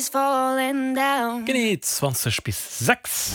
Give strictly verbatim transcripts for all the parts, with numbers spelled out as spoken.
Genee zwanzeg bis sechs.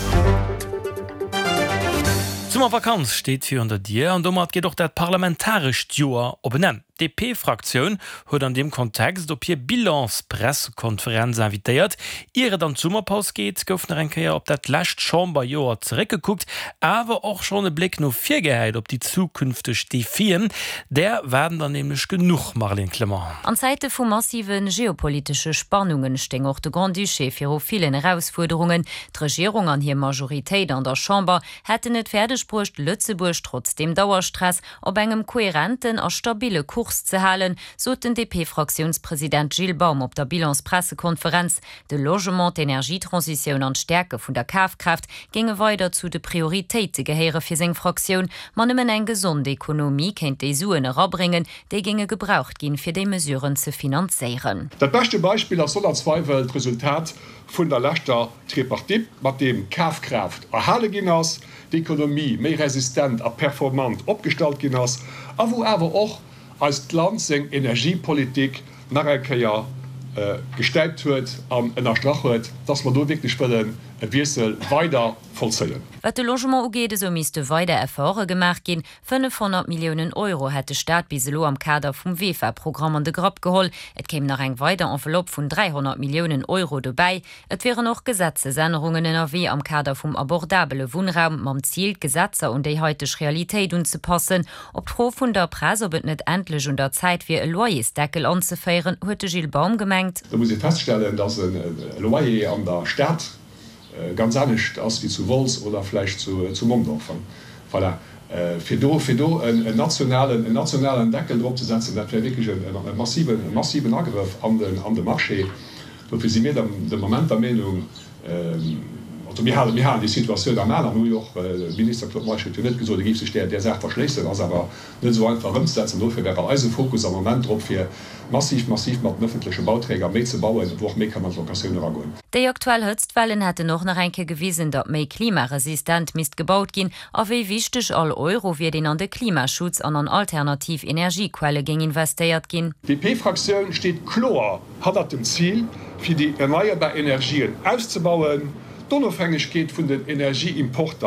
D'Summervakanz steet virun der Dier an domat geet och dat parlamentarescht Joer op en Enn. D'DP-Fraktioun huet an deem Kontext op hir Bilans-Pressekonferenz invitéiert. Ier et an d'Summerpaus geet, gouf nach eng Kéier op dat lescht Chamberjoer zeréckgekuckt, awer och schonn e Bléck no vir gehäit op déi zukünfteg Defien. Där waarden der nämlech genuch, Marlène Clement. An Zäite vu massive geopolitesche Spannunge stéing och de Grand-Duché viru villen Erausfuerderungen. D'Regierung an hir Majoritéit an der Chamber hätten et fäerdeg bruecht, Lëtzebuerg trotz dem Dauerstress op engem koherenten a stabille Kurs ze halen, sot den D P-Fraktiounspresident Gilles Baum op der Bilanspressekonferenz. De Logement, d'Energietransitioun an d'Stäerke vun der Kafkraaft géinge weider zu de Prioritéite gehéiere fir seng Fraktioun. Ma nëmmen eng gesond Ekonomie kéint déi Suen erabréngen, déi géinge gebraucht ginn, fir déi Mesuren ze finanzéieren. Dat beschte Beispill ass sonner Zweiwel d'Resultat vun der leschter Tripartite, mat deem d'Kafkraaft erhale ginn ass, d'Ekonomie méi resistent a performant opgestallt ginn ass a wou awer och eist Land seng Energiepolitik nach eng Kéier gestäipt huet an ënnerstrach huet, dass mer do wierklech wëllen e Wiessel weider vollzéien. Wat de Logement ugeet, esou misste weider Efforte gemaach ginn. fënnefhonnert Milliounen Euro hätt de Staat bis elo am Kader vum V E F A-Programm an de Grapp geholl. Et kéim nach eng weider Enveloppe vun dräihonnert Milliounen Euro dobäi. Et wieren och Gesetzesännerungen ënnerwee am Kader vum abordabele Wunnraum, mam Zil, d'Gesetzer un déi haiteg Realitéit unzepassen. Op d'Fro vun der Press, ob et net endlech un der Zäit wier, e Loyersdeckel anzeféieren, huet de Gilles Baum gemengt. Do muss ee feststellen, dass e Loyer an der Stad ganz anescht ass wéi zu Wolz oder vläicht zu Mondorf. Voilà. Fir do, fir do en nationalen, en nationalen Deckel drop ze setzen, dat wär wierklech e massiven, e massiven Agrëff an den, an de Marché. Dofir si mir de Moment der Meenung, also mir halen, mir halen déi Situatioun am An an hu jo och, de Minister Claude Meisch huet jo net gesot, e géif sech där, där Saach verschléissen, ass awer net esou einfach ëmzesetzen. Dofir wär eise Fokus am Moment drop, fir massiv, massiv mat den ëffentleche Bauträger méi ze bauen, wou och méi kann an d'Locatioun eragoen. Déi aktuell Hëtztwellen hätten och nach eng Kéier gewisen, datt méi klimaresistent misst gebaut ginn a wéi wichteg all Euro wier, deen an de Klimaschutz an an alternativ Energiequelle géing investéiert ginn. D'D P-Fraktioun steet kloer hannert dem Zil, fir déi erneierbar Energien auszebauen, d'Onofhängegkeet vun den Energieimporter